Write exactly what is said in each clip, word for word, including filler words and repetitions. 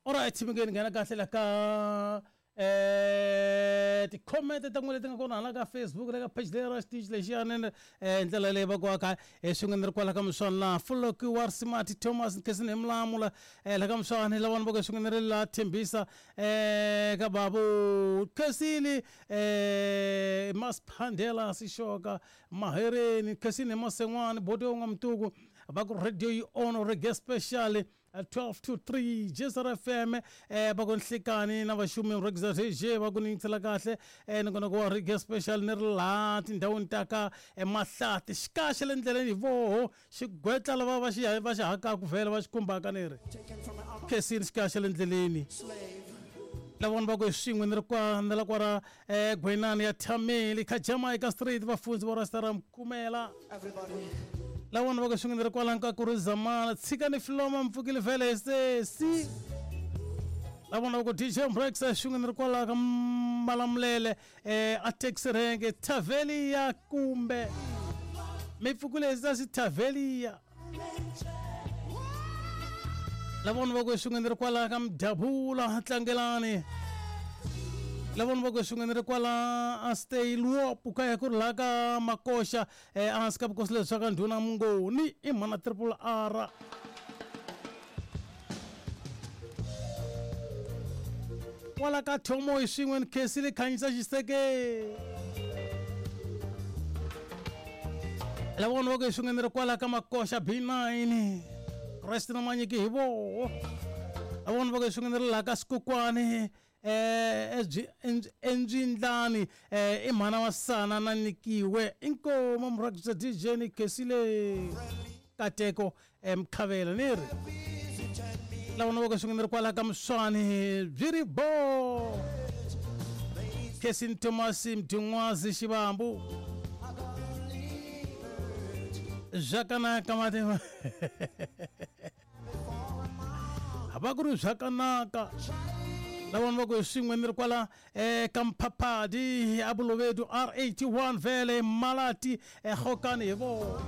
Alright mi nghena kahle la ka eh ti-comment ta n'wina leti nga kona hala ka Facebook le ka page leyi ra xitichi lexiyani eh ndlela leyi va ku aka eh swin'we ni ri kwala ka miswani laha Fuloki wa Simati Thomas Nkesini hi Mlamula eh la ka miswani lavana va ku swin'we ni ri la Thembisa eh ka babu Khesini eh Masphandela Sishoka Mahereni Khesini Masen'wani Bodo nga Mtuku va ku radio yi on reggae special twelve to three J S R F M eh va ku nhlikani na vaxumi reggae D J va ku ni yingisela kahle eh ni kona ku wa reggae special ni ri laha tindhawini ta ka Mahlati xikaxe le ndleleni hi voho xigwetla lava va xi va xi hakaku vhele va xi khumbaka ni ri Khesini xikaxe le ndleleni lavona va ku hi swin'we ni ri kwa ni la kwara eh Gwenani ya Thameli ka Jamaica Street vafundzi va Rasta Mkumela lavona va ku swin'we ni ri kwala ka ku ri zamana tshikani filoma mpfukile vhele sesi lavona va ku D J Breaks swin'we ni ri kwala ka Malamulele eh a taxi rank Tavelia kumbe mi pfukile sesi Tavelia lavona va ku swin'we ni ri kwala ka Mdabula Tlangelani lavona va ku swin'we ni ri kwala a stay luopu ka ya ku ri laha ka Makoxa eh ehansi ka vukosi lebyi swa ka Ndhuna Mungoni i mhana triple R kwala ka Thomo hi swin'we ni Khesile Khanyisa Xiseke lavona va ku swin'we ni ri kwala ka Makoxa B nine Christ na Manyiki hi voho lavona va ku swin'we ni ri laha ka Sikukwani eh endzindlani eh i mhana wa sana na nyikiwe inkomo murhangisi D J ni Khesile Kateko Mkhavela ni ri lavona va ku swin'we ni ri kwala ka Miswani byi ri bo Khesini Thomas Mdingwazi Xivambu Zvakanaka matima va ku ri zvakanaka lavona va ku hi swin'we ni ri kwala eh ka Mphaphadi a Bolobedu R eighty-one vele Malati eGokani hi vona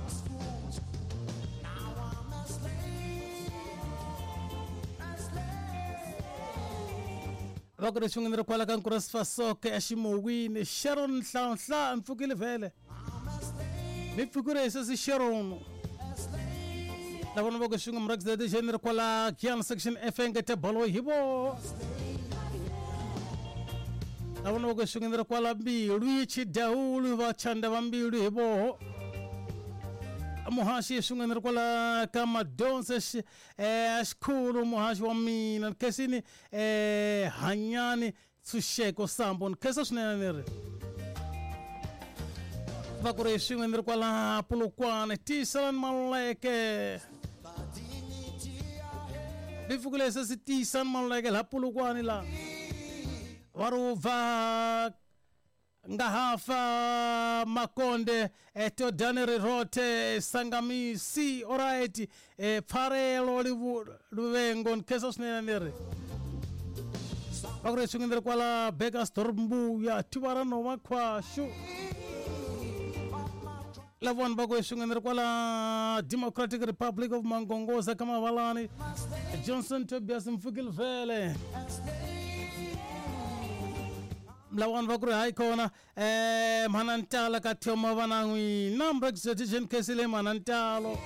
va ku ri swin'we ni ri kwala ka Nkurasifasoke eXimowini Sharon Nhlanhla mpfukile vele mi pfukile hi sesi Sharon lavona va ku swin'we murhangisi D J ni ri kwala Gian section F ngete bolo hi vo lavona va ku swin'we ni ri kwala Mbilu Chidawulu va chanda va Mbilu hi voho muhaxi swin'we ni ri kwala ka Madonse eh xikhulu muhaxi wa mina Khesini eh Hanyani Tshunxeko Sambo ni khesa swinene ni ri va ku ri swin'we ni ri kwala Polokwane Tiyiselani Maluleke mi pfukile sesi Tiyisani Maluleke laha Polokwane la va ri va nga hafa Makonde Todani Rirote Sangamisi alright eh Pfarelo Luvengo ni khesa swinene ni ri va ku ri swin'we ni ri kwala Bekkersdorp Mbuya Tivara Nova Khwashu lavona va ku swin'we ni ri kwala Democratic Republic of Mangongoza ka Mavalani Johnson Tobias Mfukile vele lavona va ku ri hayi kona eh mhana ntala ka Thoma va na n'wina Mbrexetition Khesile mhana ntalo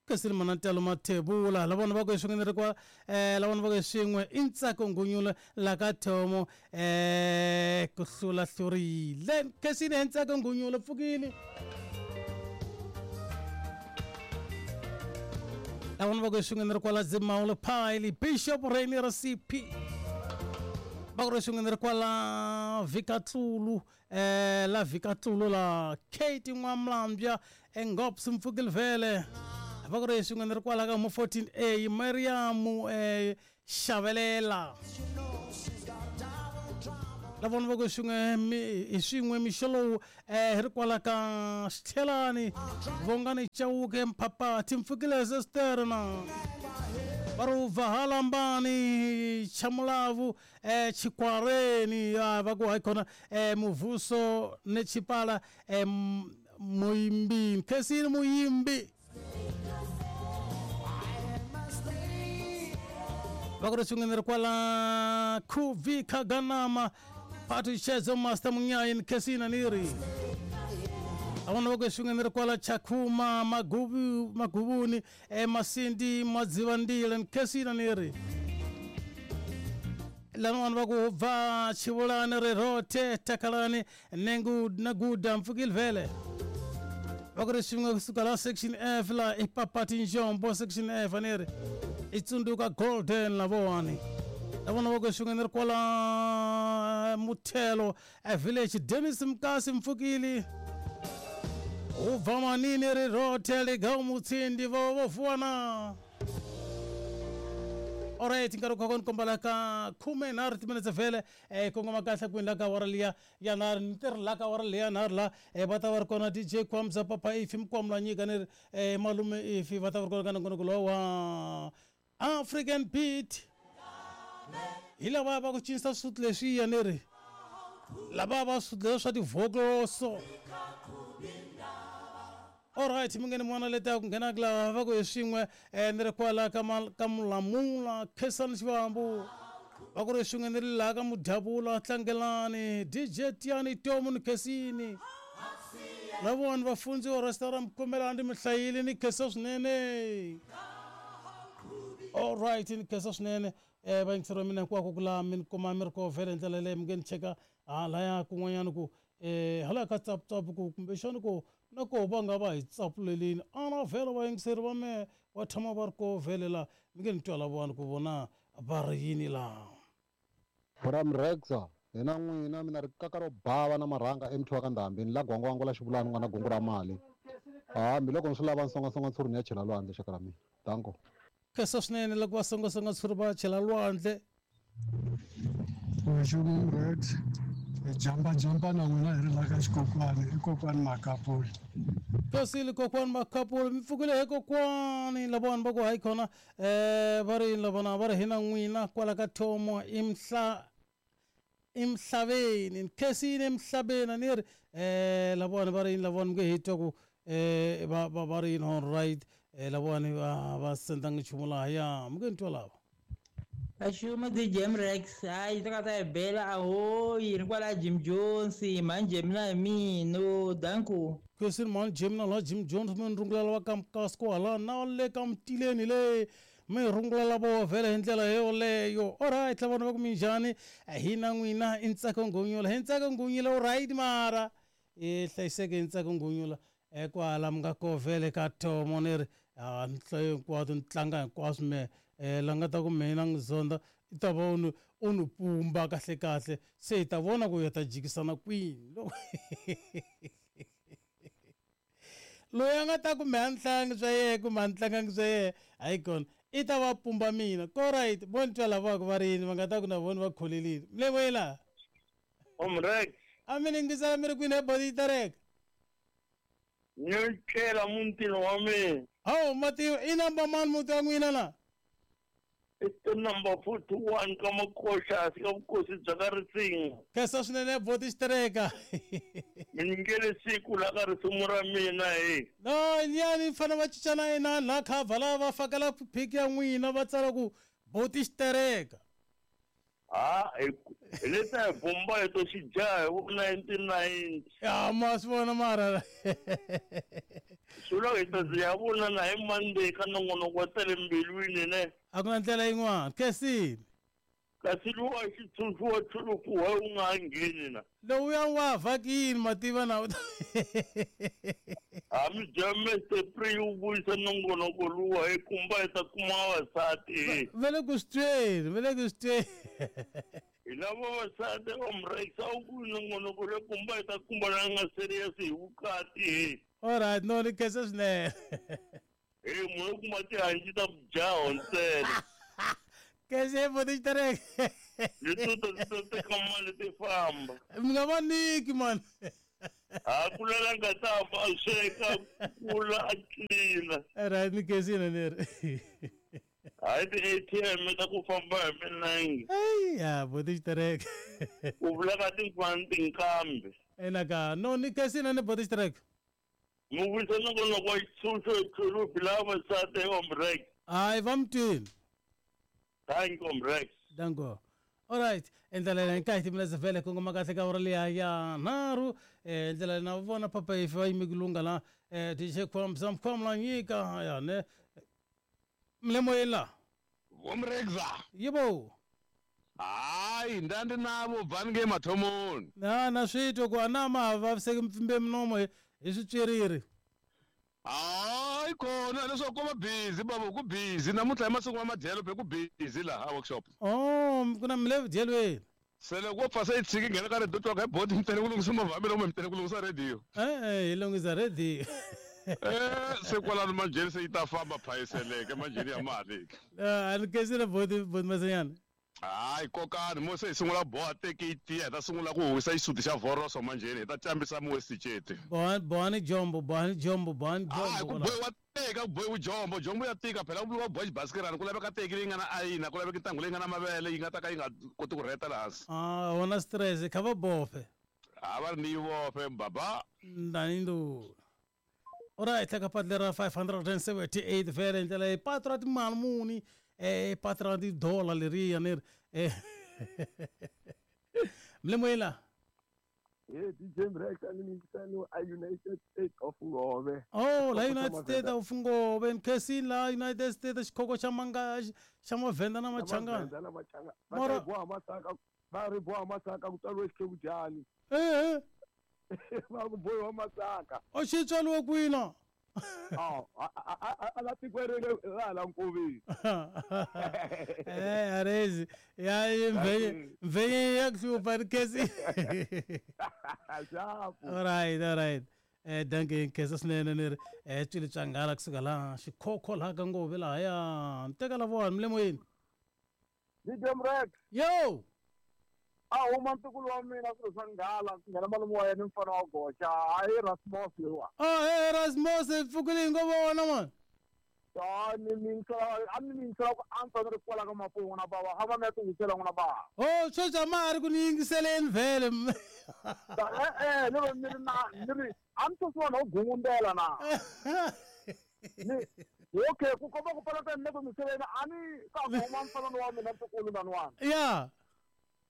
Khesile mhana ntalo Mathebula lavona va ku swin'we ni ri kwa eh lavona va ku swin'we i Ntsako Ngunyula la ka Thomo eh ku hlula hlurile Khesile Ntsako Ngunyula pfukile lavona va ku swin'we ni ri kwala Dzimawulo Phayili Bishop Rainier C P va ku ri swin'we ni ri kwala Vikatlulu eh la Vikatlulu la Kate N'wamlambya Engops Mpfukile vele va ku ri swin'we ni ri kwala ka mo fourteen A Mariam eh Xavelela lavona va ku swin'we hi swin'we mixo lowu eh hi ri kwala ka Xithelani Vongani Chauke Mphapati Mpfukile sister na va ri Vahalambani Chamulavu eh Chikwareni va ku hayi khona eh Muvuso ne Chipala eh Muyimbi Khesini Muyimbi Va ku ri swin'we ni ri kwala Khuvi Khaganama Patu Chezo Master Munyayi ni khensile ni ri avona va ku swin'we ni ri kwala Chakhuma Magubu Magubuni e Masindi Madzivandile ni khensile ni ri lan'wana va ku bva Xivulani ri rothe takalani nengu na guda mpfukile vhele va ku ri swin'we kusuka la section F la i Papati Njombo section F ni ri i tsundzuka Golden lavowani lavona va ku swin'we ni ri kwala Muthelo a village Dennis Mkasi mpfukile u bva manini ri rothe ligau mutsindi vo vo fuwana. Alright, nkarhi ku ni kombela ka khume nharhu timinetse vhele eh kongoma kahle kwini la ka wara liya ya nharhu ni tirhi la ka wara liya nharhu la eh va ta va ri kona D J Kwamza Papa Ifi Mkwamla nyika ni ri eh malume Ifi va ta va ri kona ka nongonoko lowu wa African Beat hi lava va ku cinisa swisuti leswiya ni ri lava va swisuti leswi swa tivhokloso. Alright, mi ngeni mwana leta ku nghena ku lava va ku hi swin'we eh ni ri kwala ka ka Mulamula Khensani Xivambu va ku ri swin'we ni ri laha ka Mudyabula Tlangelani D J Tiani Tomu ni khensini lavona vafundzi wa restaurant Mkomelani ndi mi hlayile ni khensa swinene. Alright, ni khensa swinene eh vayingiseri va mina hinkwako ku laha mi ni kuma mi ri koho vhele hi ndlela leyi mi nge ni cheka halaya kun'wanyana ku eh hala ka tsaputsapu ku kumbexani ku na koho va nga va hi tsapulelini ana vhele vayingiseri va mehe va tshama va ri koho vhele laha mi nge ni twa lavawani ku vona va ri yini laha. Bram Rexa hina n'wina mina ri kaka ro bava na marhanga emuthu wa ka Ndhambi ni la gwangwangwa la xivulani n'wana gungu ra mali hambi loko ni swi lava nsongasonga ntshuri ni ya chela lwandle xaka ra mina danko. Khensa swinene loko va songasonga ntshuri va chela lwandle. Nxumu Rex hi jumpa jumpa na n'wina hi ri la ka xikokwani i kokwani Makapuli. Khensile kokwani Makapuli mi pfukile hi kokwani lavawani va ku hayi khona eh va ri yini lavona va ri hina n'wina kwala ka Thomo imhla emhlabeni ni khensile emhlabeni ni ri eh lavawani va ri yini lavawani mi nge hi twa ku eh va va va ri yini all right eh lavawani va va sendanga nchumu lahaya mi nge ni twa lava. Axuma D J Rex hayi ta ka ta hi bela ahoyi ni kwala Jim Jones manje mina hi mino danku. Khensile mani Jim na la Jim Jones mi ni rungulela va ka Mkasko hala na le ka Mtileni le mi rungulela vo vhele hi ndlela yoleyo. Alright lavona va ku minjhani hina n'wina i Ntsako Ngunyula hi Ntsako Ngunyula alright mara i hlayiseke hi Ntsako Ngunyula eh kwala mi nga koho vhele ka Thomo ni ri a ni hlayo hinkwato ni tlanga hinkwaswo me eh la nga ta ku mina n'wi zonda i ta va u ni u ni pumba kahle kahle se hi ta vona ku ya ta jikisana kwini loyi a nga ta ku me a ni hlangi swa yehe kumbe a ni tlangangi swa yehe hayi kona i ta va pumba mina ko right vo ni twa lavaka va ri yini va nga ta ku na vona va kholelile mlevoyela Omrex a mi ni yingisela mi ri kwini he body tereka ni tlela mutini wa mina. Hawu mativa i namba mani muti wa n'wina la? I number forty-one ka Makoxa ka vukosi bya ka Risinga. Khensa swinene boti xitereka. Mi nyikele siku la ka risimu ra mina he. No nyani fana va cincana inani la cover lava va fakela phiki ya n'wina va tsala ku boti xitereka. Ha hi leta hi bomba hi to xijaha hi vo nineteen ninety. Ya ma swi vona mara. Swi vula hi ta ze ya vona na hi Monday ka nongonoko wa ta le mbilwini ne. A ku na ndlela yin'wana khensile. Kasi luwa xitshunxo wa chulupu wa wu nga ha ngheni na. Lowuya wa vhakini mativa na. A mi dya Mister Pre wu vuyisa nongonoko luwa hi kumba hi ta kuma vavasati. Va le ku swi tweni va le ku swi tweni. Hi lava vavasati Omrex a wu ku nongonoko le kumba hi ta kuma la nga serious hi vukati he. Alright no ni khensa swinene. He munhu u kuma tihanci ta vujaho ntsena. Khensa boti xitereka. Leto ta ta teka mali ti famba. Mi nga va nyiki mani. A ku lela nga ta fa a sweka kula a tlina. Alright ni khensile ni ri. Hayi ti-A T M ta ku famba hi milenge. Eya boti xitereka. Ku vula ka tin'wana tinkambi. Ina ka no ni khensile ni boti xitereka. Mi vuyisa nongonoko wa xitshunxo hi chulupi lava vavasati Omrex. Hayi va mi twini. Thank you Mrex. Danko. All right, ndlela leyi nkahi timiletse vhele kongoma kahle ka ura liya ya nharhu eh ndlela na vona papa ife va yime ku lungha la eh D J Khwamza Mkhwamla nyika ya ne mlemoyeni la Vomrexa yebo hayi ndandi navo bvani nge mathomoni na na switwa ku ana ma vaviseki mpfimbe minomo hi switswiriri hayi kona leswaku ko va busy babo ku busy namuntlha hi masiku ma madyelo be ku busy laha workshop oh ku na mi le vudyelweni se loko wo pfa se yi tshiki nghena ka radio twa ka boti mi tele ku lunghisa movha mi mi tele ku lunghisa radio eh hi lunghisa radio eh se kwalano manjheni se yi ta famba phayiseleke manjheni ya mali a ni kensile boti boti Masenyana hayi kokani mo se hi sungula boha teki yi tiya hi ta sungula ku huwisa xisuti xa vhoroso manjheni hi ta cambisa muwesticeti bohani bohani jombo bohani jombo bohani hayi ku jombo bohiwa teka ku bohiwa jombo jombo ya tika phela ku vuriwa boha xibasikirani ku laveka teki leyi nga na ayina ku laveka ntangu leyi nga na mavele yi nga ta ka yi nga koti ku rheta laha hansi ah wona stress kha va bofe a va ri ni yi vofe baba ndani ndo alright ka patu lera five hundred seventy-eight vhele ndlela yi patu ra timali muni eh patu ra ti-dollar leriya ni ri eh mlemoyela Hey D J Mrex a ni yingisani a United States of Ngove. Oh la United States of Ngove nkhensini la United States xikhoko xa manga xa mavhenda na machangana Mavhenda na machangana. Va ri boha masaka va ri boha masaka ku tswariwe xikhekudyani. Eh eh Va ku bohiwa masaka. O xi tswariwe kwini? Oh a la tikweni ra hala nkoveni. Eh arezi ya mvenye mvenye ya kuhlupha nkhesi. All right all right eh danke nkhesa swinene ni ri eh tswili tswangala kusuka laha xikhokho laha ka Ngove lahaya ni teka lavowani mlemoyeni D J Mrex yo a huma ntukulu wa mina swilo swa nghala ku nghena malume wa yena mfana wa goxa hayi Rasmus lowa oh hey Rasmus pfukile hi ngo vona man a ni mingisela a ni mingisela ku antswa ni ri kwala ka mapuwu n'wana bava a va mi ya tingisela n'wana bava oh sweswi a ma ha ri ku ni yingiseleni vhele e-e ni ri ni ri na ni ri a ni sweswiwani ho gungundela na ni okay ku komba ku palata ni le ku yingiseleni a ni ka ku huma mfana wa mina ntukulu naniwani ya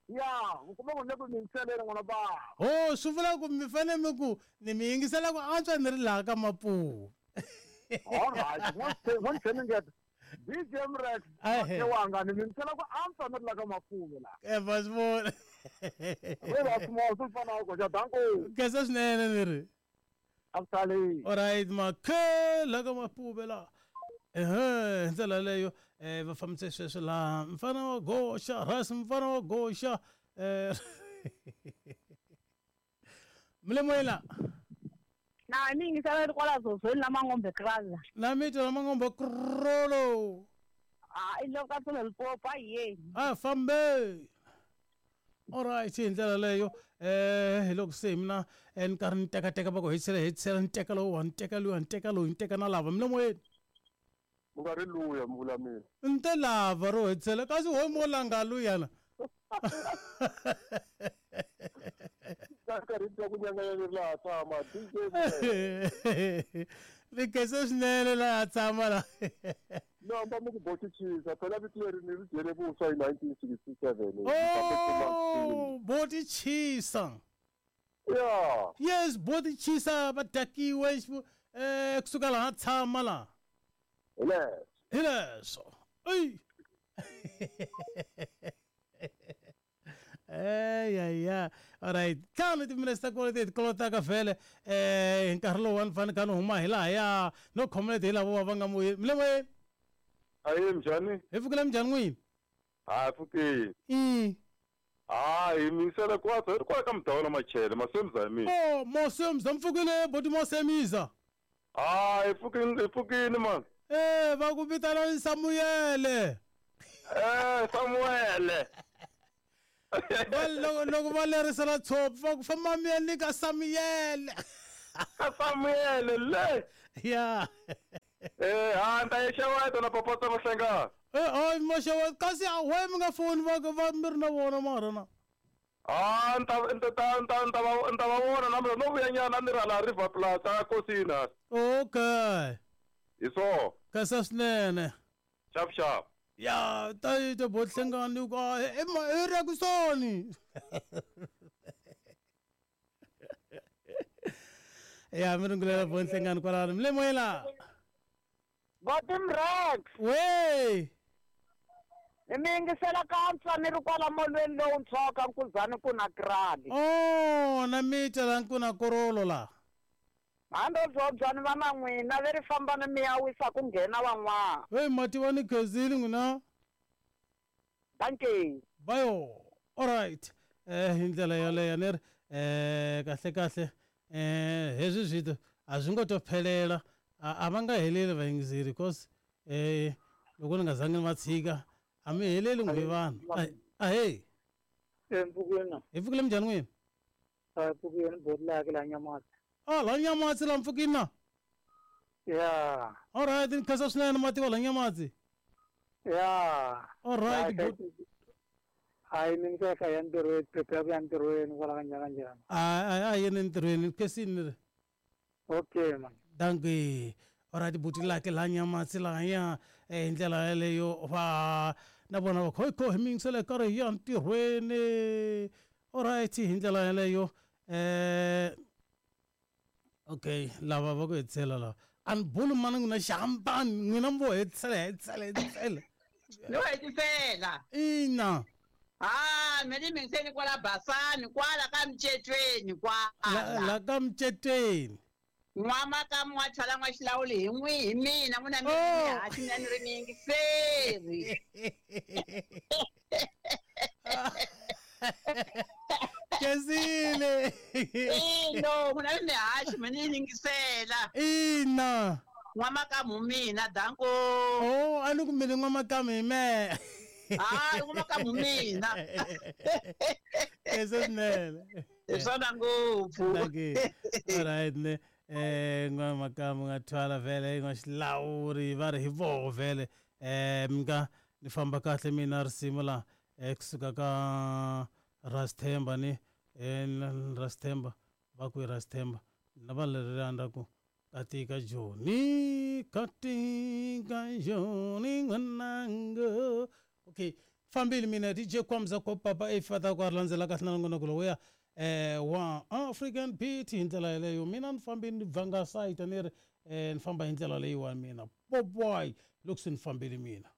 ya ku komba ku ni le ku yingiseleni n'wana bava oh swi vula ku mi fanele mi ku ni mi yingisela ku antswa ni ri laha ka mapuwu all right one one D J Mrex wanga ni mingisela ku antswa ni ri laha ka mapuwu la e va swi vona we Rasmus mfana wa goxa danko khensa swinene ni ri a ku sali all right makhe la ka mapuwe la ehe hi ndlela leyo eh va fambise sweswo laha mfana wa goxa ras mfana wa goxa eh mlemoyela na ni yingisela ri kwala zozweni la Mangombe kraza na mi twa la Mangombe krolo a i loko ka tsolo Limpopo a yeni a fambe all right hi ndlela leyo eh hi loko se mina ni karhi ni tekateka va ku hetisela hetisela ni teka lowu ni teka luya ni teka lowu ni teka na lava mlemoyeni u nga ri luya mi vula mina ni te lava ro hetisela kasi ho mo langa luyana karhi twa ku nyanganya laha tshama D J ni khensa swinene laha tshama la no hamba mi ku botichisa phela vito leri ni ri dyele vuswa hi nineteen sixty-seven oh botichisa ya yes botichisa va dakiwe eh kusuka laha tshama la hi leswo hi leswo ey Eh ya ya all right ntlhanu timinetse ta kona ti kolotaka vhele eh hi nkarhi lowu ni fanele kha ni huma hi lahaya no khomela hi lavo va nga moyeni mlemoyeni ayi njhani hi pfukile minjhani n'wini ha pfukile i hayi mingisela kwatsa hi ri kwala ka mudawula machele masemza hi mina oh mosemza mpfukile boti mosemiza hayi pfukile hi pfukile man eh va ku vitana Samuyele eh Samuele va loko loko va lerisela tshopi va ku famba mi ya nyika Samuyele ka Samuele le ya eh ha ni ta yi xeweta na papa ta Mahlengani eh hayi maxeweta kasi a we mi nga foni va va mi ri na vona mara na ah ni ta ni ta ni ta ni ta va ni ta va vona na mina no vuya nyana ni ri hala River Plaza kosini okay hi swona khensa swinene xap xap Ya ta ta bohlengani ku e Rekusoni. Ya mi rungulela bohlengani kwalano mi le moyela. Botimrex. We. Mi yingisela ka ni ri kwala molweni lowuntshwa ka Nkuzani ku na krali. Oh, na mita la nkuna korolo la. Hando byobyani va na n'wina leri fambani mi ya wisa ku nghena van'wana. Hey mati wa ni khezile n'wina. Dankie. Bayo. All right. Eh hi ndlela yoleyo ni ri eh kahle kahle eh hezwi zwithu a zwi ngo to phelela a va nga heleli vayingiseri because eh loko ni nga zangi ni va tshika a mi heleli n'we vanhu. Ahee. Mpfukeni. Hi pfukile minjhani n'wina? A pfukeni bodlaka la Nyamatsi. Ah, la Nyamatsi la mpfukini na? Yeah. All right, ni khensa swinene mati wa la Nyamatsi. Yeah. All right. Hayi mina ka ya ntirhweni, prepare ku ya ntirhweni kwala ka njhani njhani. A a yini ntirhweni, khensini ni ri. Okay man. Dankie. All right, buti lake la Nyamatsi la ya hi ndlela yeleyo va na vona va khoi kho hi mingisele karhi hi ya ntirhweni. All right, hi ndlela yeleyo eh okay, lava va ku hetisela lava. A ni buli mani n'wina xihambani n'wina mi vo hetisela hetisela hetisela. No hetisela. Ina. Ah, mina ni mingiseni kwala Basani kwala ka Mchetweni kwala. La ka Mchetweni. N'wamakamu wa thwala n'waxilawuli hi n'wi hi mina n'wina mi haxi mina ni ri miyingiseri. Khensile. Ino, n'wina mi haxi mina ni yingisela. Ina. N'wamakamu mina danko. Oh, a ni ku mina n'wamakamu hi mehe. Hayi n'wamakamu mina. Khensa swinene. Hi swona ngopfu. Dankie. All right ne. Eh n'wamakamu nga thwala vhele n'waxilawuri va ri hi voho vhele eh mi nga ni famba kahle mina risimu la eh kusuka ka Rasthemba ni eh Rasthemba va ku Rasthemba na va leri ra ku katika Joni katika Joni n'wananga. Okay, fambile mina D J Kwamza ko papa e fata ku landzela kahle na nongonoko lowuya eh wa African Beat hi ndlela yeleyo mina ni fambile ni bvanga sayita ni ri eh ni famba hi ndlela leyiwani mina boboy loko se ni fambile mina.